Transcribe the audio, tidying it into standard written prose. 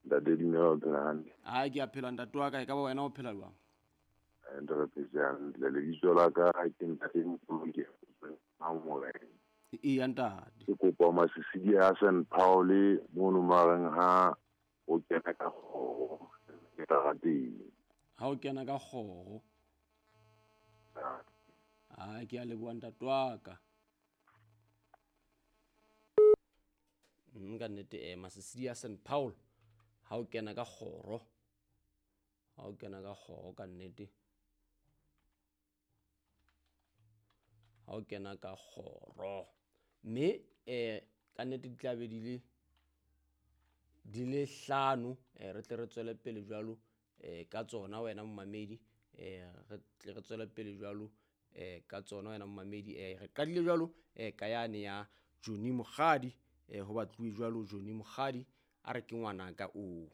Ntate dumela, o phela hantle? A ke a phela, ntate wa ka. E ka ba wena o phela jwang? Ntate, re phetse hantle. Lebitso la ka ke ntate Mpoloke Morena. Eya, ntate. Ke kopa masisidi a St Paul mono mareng ha o kena ka kgoro ke tarateng. Ha o kena ka kgoro. A ke a leboha, ntate wa ka. Ka nnete, masisidi a St Paul ha o kena ka kgoro, ha o kena ka kgoro, ka nnete ha o kena ka kgoro, mme ka nnete di tla be di le hlano. Re tle re tswele pele jwalo ka tsona, wena momamedi. Re tle re tswele pele jwalo ka tsona, wena momamedi. Re qadile jwalo ka yane ya Johnny Mokgadi, ho batluwe jwalo Johnny Mokgadi a re ke ngwanaka o.